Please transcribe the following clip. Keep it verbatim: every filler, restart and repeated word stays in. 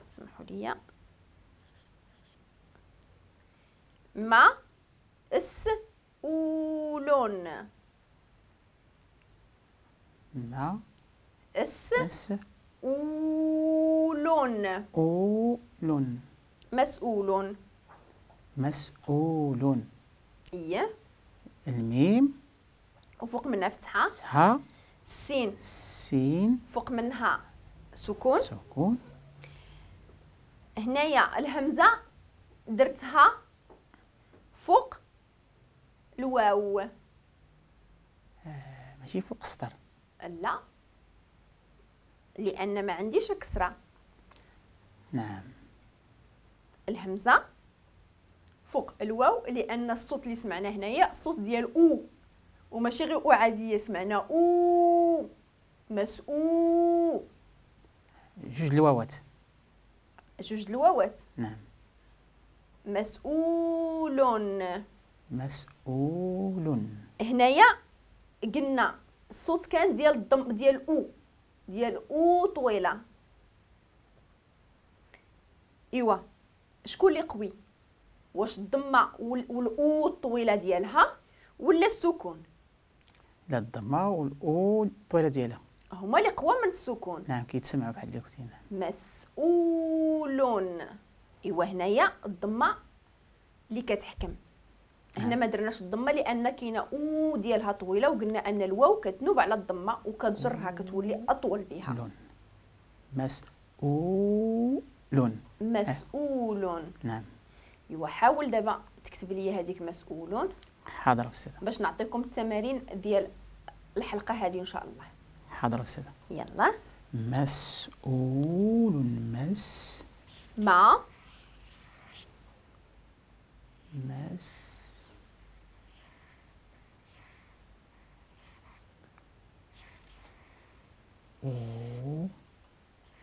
سمحوا لي، ما اس أولون. ما اس اس أولون. أولون. مسؤول. مسؤول. إيه. الميم وفوق منها فتحة. فتحة. السين. سين فوق منها سكون. سكون. هنايا الهمزة درتها فوق الواو. آه ماشي فوق السطر. لا، لأن ما عنديش الكسرة. نعم. الهمزة فوق الواو لأن الصوت اللي سمعنا هنايا الصوت ديال أو، وماشي غير أو عادية، سمعنا أو مسؤول. جوج الواوات. جوج الواوات. نعم. مسؤول. مسؤول. هنايا قلنا الصوت كان ديال الضم ديال أو، ديال أو طويلة. إيوا شكون اللي قوي؟ واش الضمة والأو الطويلة ديالها ولا السكون؟ لا، الضمة والأو الطويلة ديالها هما اللي قوى من السكون. نعم، كيتسمعوا بحال اللي قلتي. مسؤول. إيوا هنايا الضمة اللي كتحكم. هنا ما درناش الضمة لان كاينه او ديالها طويلة، وقلنا ان الواو كتنوب على الضمة وكتجرها كتولي اطول بها. لون. مسؤول. مسؤول. نعم. ايوا حاول دابا تكتب لي هذيك مسؤول. حاضر استاذه، باش نعطيكم التمارين ديال الحلقة هذه ان شاء الله. حاضر استاذه. يلا. مسؤول. مس ما مس